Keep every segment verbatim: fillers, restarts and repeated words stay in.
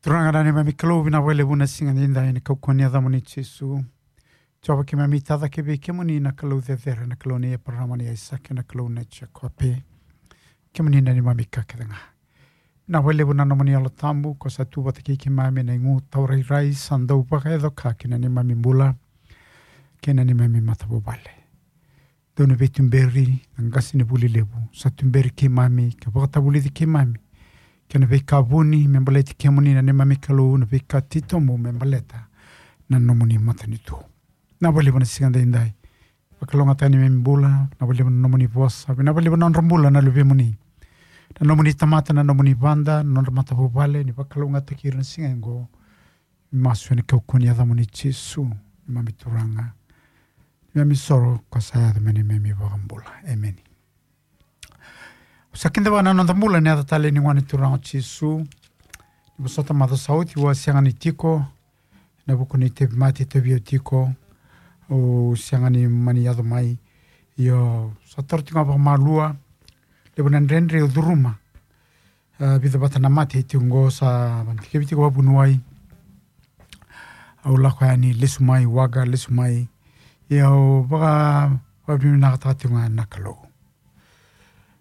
Turaga na neimami Kalou, vinaka vakalevu na siga nidai ena kaukauwa ni yacamuni Jisu. Jiova, keimami tacake vei kemuni na Kalou cecere, na Kalou nei Eparama, nei Aisake, na Kalou nei Jekope. Kemuni na neimami ka kece ga. Vinaka vakalevu na nomuni Yalo Tabu, ko sa tu vata kei keimami ena igu tawa rairai, sa dau vakayaco ka ki na neimami bula kei na neimami matavuvale. Dou na veituberi na qasenivuli levu, sa tuberi keimami ka vakatavulici keimami kei na veika vuni me baleti kemuni na neimami Kalou, na veika titobu me baleta na nomuni matanitu. Vinaka vakalevu na siga daidai. Vakalougatataka na neimami bula, vinaka vakalevu na nomuni vosa, vinaka vakalevu na nodra bula na luvemuni, na nomuni tamata, na nomuni vada, na nodra matavuvale, ni vakalougatataki ira na siga oqo. Masu ena kaukauwa ni yacamuni Jisu, neimami Turaga, neimami isoro ko sa yaco me neimami iVakabula. Emeni. Sa kidavaka na noda bula ena yaca talei ni Gone Turaga o Jisu. Ni vosota, macawa sa oti au a sega ni tiko ena vuku ni tauvimate e tauvi au tiko, au sega ni mani yaco mai. Io, sa toro tiko ga vakamalua. Levu na dredre au curuma. A, vica vata na mate e tiko oqo, sa dikevi tiko vakavuniwai. Au lako yani, lesu mai, waqa, lesu mai. Ia au vaka, vakavinavinakataka tiko ga na Kalou.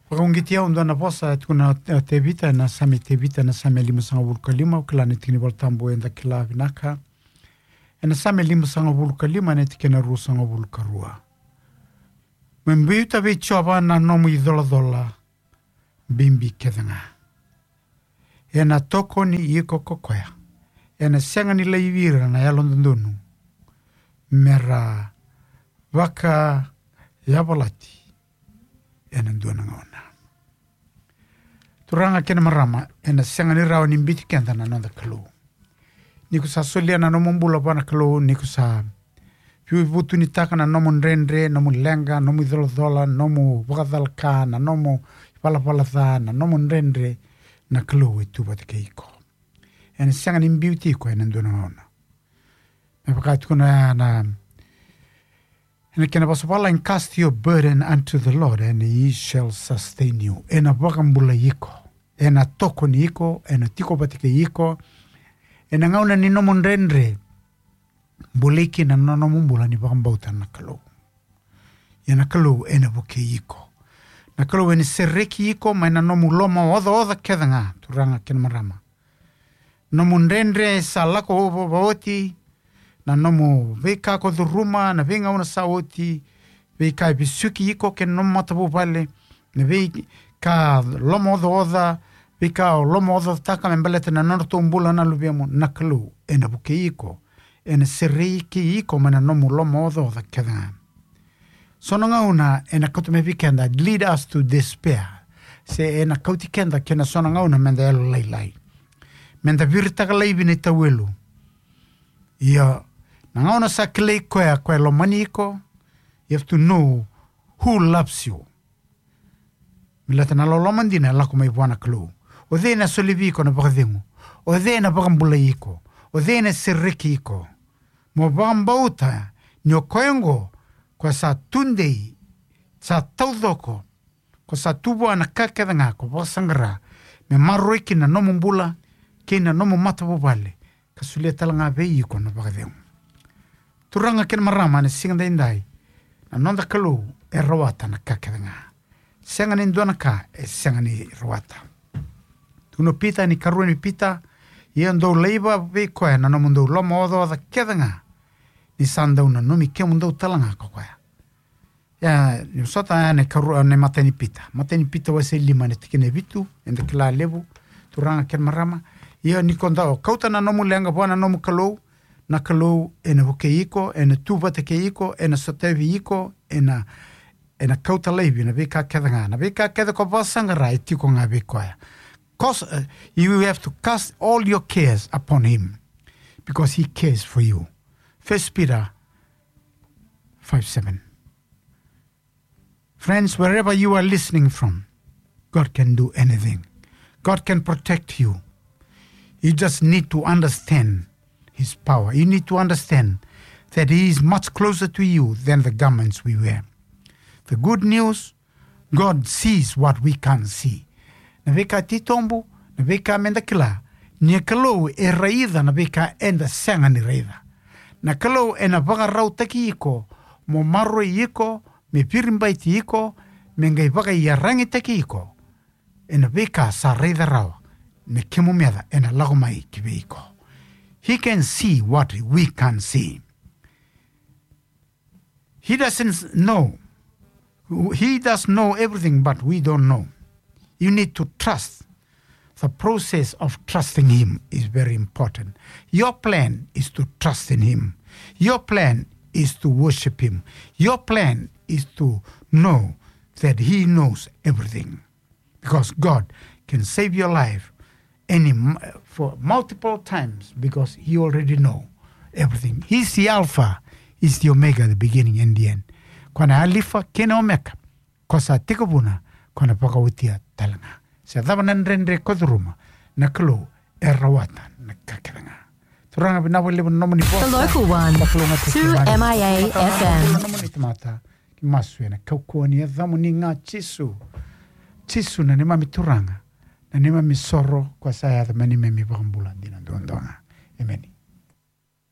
Vakauqeti au e dua na vosa e tukuna o Tevita, ena Same i Tevita, ena Same limasagavulu ka lima, au kila ni tikina ni Volatabu eda kila vinaka. Ena Same limasagavulu ka lima, ena tikina ruasagavulu ka rua. Me biuta vei Jiova na nomu icolacola bibi kece ga. Ena tokoni iko ko koya. Ena sega ni laivi ira na yalododonu me ra vakayavalati ena dua na gauna. Turaga kei na marama, ena sega ni rawa ni biuti keda na noda Kalou. Ni ko sa solia na nomu bula vua na Kalou, ni ko sa veivutunitaka na nomu dredre, nomu leqa, nomu icolacola, nomu vakacalaka, na nomu ivalavala ca, na nomu dredre, na Kalou e tu vata kei iko. Ena sega ni biuti iko ena dua na gauna. Me vaka e tukuna na, ena kena vosa vakalailai, "Cast your burden unto the Lord and he shall sustain you." Ena vakabulai iko, ena tokoni iko, ena tiko vata kei iko ena gauna ni nomu dredre. Bulai kina na nomu bula ni vakabauta na Kalou. Ia na Kalou ena vukei iko. Na Kalou ena sereki iko mai na nomu lomaocaoca kece ga, turaga kei na marama. Nomu dredre sa lako va-, vaoti, na nomu veika ko curuma na veigauna sa oti, veika e vesuki iko kei na nomu matavuvale, na veika lomaocaoca, veika o lomaocaocataka me baleta na nodratou bula na luvemu, na Kalou ena vukei iko, ena sereki iko mai na nomu lomaocaoca kece ga. So na gauna ena kauta mai vei keda, lead us to despair. Se ena kauti keda kei na so na gauna meda yalolailai, meda viritaka laivi na itauwelu. Ia, na gauna sa kilai koya, koya e lomani iko, you have to know who loves you. Baleta na loloma dina e lako mai vua na Kalou. O cei ena solia vei iko na vakacegu? O cei ena vakabulai iko? O cei ena sereki iko? Mo vakabauta ni o koya oqo, koya sa tudei, sa taucoko, ko sa tu vua na ka kece ga ko vakasaqara me maroroi kina na nomu bula kei na nomu matavuvale, ka solia tale ga vei iko na vakacegu. Turaga kei na marama, ena siga daidai, na noda Kalou e rawata na ka kece ga. Sega ni dua na ka e sega ni rawata. Tukuna o Pita, ni karua ni Pita, ia dou laiva vei koya na nomudou lomaocaoca kece ga, ni sa dau nanumi kemudou tale ga ko koya. Ia, ni vosota, ia na ikarua, na imatai ni Pita. Matai ni Pita wase lima, na tikina e vitu, eda kila levu, turaga kei na marama. Ia ni ko dau kauta na nomu leqa vua na nomu Kalou, na Kalou ena vukei iko, ena tu vata kei iko, ena sotavi iko, ena, ena kauta laivi na veika kece ga. Na veika kece ko vakasaqara e tiko ga vei koya. Cause, uh, you have to cast all your cares upon him, because he cares for you. First Peter five seven. Friends, wherever you are listening from, God can do anything. God can protect you. You just need to understand his power. You need to understand that he is much closer to you than the garments we wear. The good news, God sees what we can't see. Na veika titobu, na veika meda kila, Na Kalou e raica na veika eda sega ni raica. Na Kalou ena vakarautaki iko, mo maroroi iko, me viribaiti iko, me qai vakaiyaragitaki iko. Ena veika sa raica rawa, me kemu meca ena lako mai ki vei iko. He can see what we can't see. He doesn't know. He does know everything, but we don't know. You need to trust. The process of trusting him is very important. Your plan is to trust in him. Your plan is to worship him. Your plan is to know that he knows everything. Because God can save your life any m-, for multiple times, because he already know everything. He's the Alpha, he's the Omega, the beginning and the end. Ko na Alifa kei na Omeka, ko sa tekivuna, ko na vakaotia tale ga. Se cava na dredre ko curuma, na Kalou e rawata na ka kece ga. Turaga, vinaka vakalevu na nomuni vosa. The local one, two M I A F M. Nomuni tamata, ki masu ena kaukauwa ni yacamuni ga Jisu. Jisu na neimami Turaga, na neimami soro, ko sa yaco me neimami vakabula dina duadua ga. Emeni.